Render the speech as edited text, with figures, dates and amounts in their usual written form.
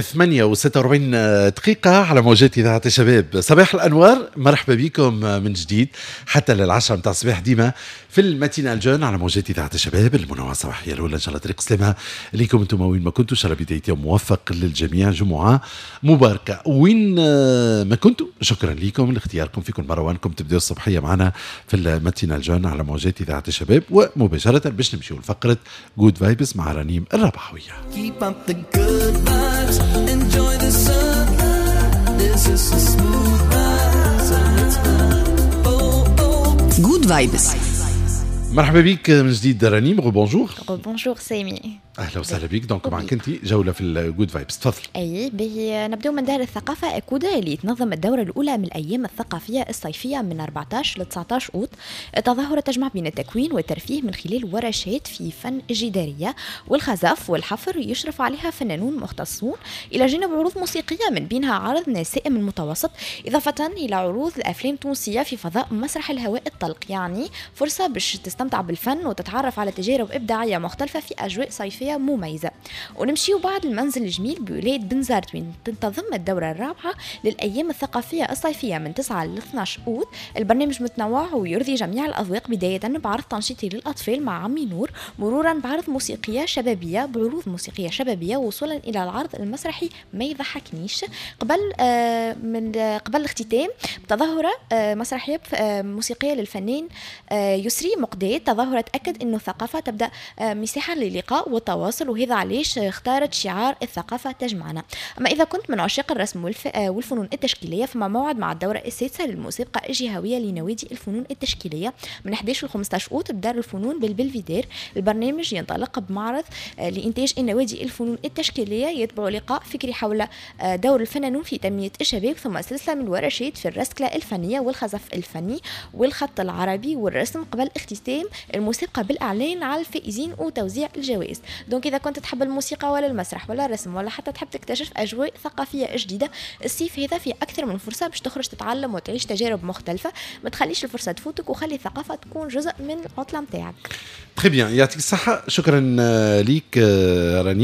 8 و46 دقيقة على موجات إذاعة الشباب. صباح الأنوار، مرحبا بكم من جديد حتى لل10 متاع الصباح، ديما في ال matinale jeune على موجات إذاعة الشباب، المنوعة الصباحية الأولى. إن شاء الله طريق سلامة لكم أنتم وين ما كنتوا، إن شاء الله بداية يوم موفق للجميع، جمعة مباركة وين ما كنتوا. شكرا لكم لاختياركم في كل مرة وأنكم تبدأوا الصبحية معنا في ال matinale jeune على موجات إذاعة الشباب. ومباشرة باش نمشيو لفقرة Good Vibes مع رنيم الربحوية. Keep up the good vibes, enjoy the sun. This is a smooth ride, so let's go. Oh, oh. Good Vibes. مرحبا بك من جديد رنيم، bonjour. bonjour سامي. اهلا وسهلا بك. donc معك انت جولة في ال Good Vibes، تفضل. اي به، نبداو من دار الثقافة اكودا اللي تنظم الدورة الاولى من الايام الثقافية الصيفية من 14 ل 19 اوت. التظاهرة تجمع بين التكوين والترفيه من خلال ورشات في فن الجداريه والخزف والحفر يشرف عليها فنانون مختصون، الى جانب عروض موسيقية من بينها عرض نسائم المتوسط، اضافه الى عروض الافلام التونسية في فضاء مسرح الهواء الطلق. يعني فرصة باش تستمتع بالفن وتتعرف على تجارب ابداعية مختلفة في اجواء صيفية مميزة. ونمشيو بعد المنزل الجميل بولاية بنزرت، وين تنتظم الدورة الرابعة للأيام الثقافية الصيفية من 9 ل 12 أوت. البرنامج متنوع ويرضي جميع الأذواق، بداية بعرض تنشيطي للأطفال مع عمي نور، مرورا بعرض موسيقية شبابية بعروض موسيقية شبابية، وصولا إلى العرض المسرحي ما يضحكنيش، قبل من قبل الاختتام بتظاهرة مسرحية موسيقية للفنان يسري مقداد. تظاهرة تأكد أنه الثقافة تبدأ مساحة للقاء والتواصل، وهذا علاش اختارت شعار الثقافة تجمعنا. أما إذا كنت من عشاق الرسم والفنون التشكيلية، فما موعد مع الدورة السادسة للمسابقة الجهوية لنوادي الفنون التشكيلية من 11 ل 15 أوت بدار الفنون بالبلفيدير. البرنامج ينطلق بمعرض لإنتاج النوادي الفنون التشكيلية، يتبع لقاء فكري حول دور الفنانون في تنمية الشباب، ثم سلسلة من الورشات في الرسكلة الفنية والخزف الفني والخط العربي والرسم، قبل اختتام المسابقة بالإعلان على الفائزين وتوزيع الجوائز. donc إذا كنت تحب الموسيقى ولا المسرح ولا الرسم ولا حتى تحب تكتشف أجواء ثقافية جديدة، الصيف هذا في أكثر من فرصة باش تخرج تتعلم وتعيش تجارب مختلفة. ما تخليش الفرصة تفوتك وخلي الثقافة تكون جزء من العطلة متاعك. très bien، يعطيك الصحة، شكرا ليك رنيم.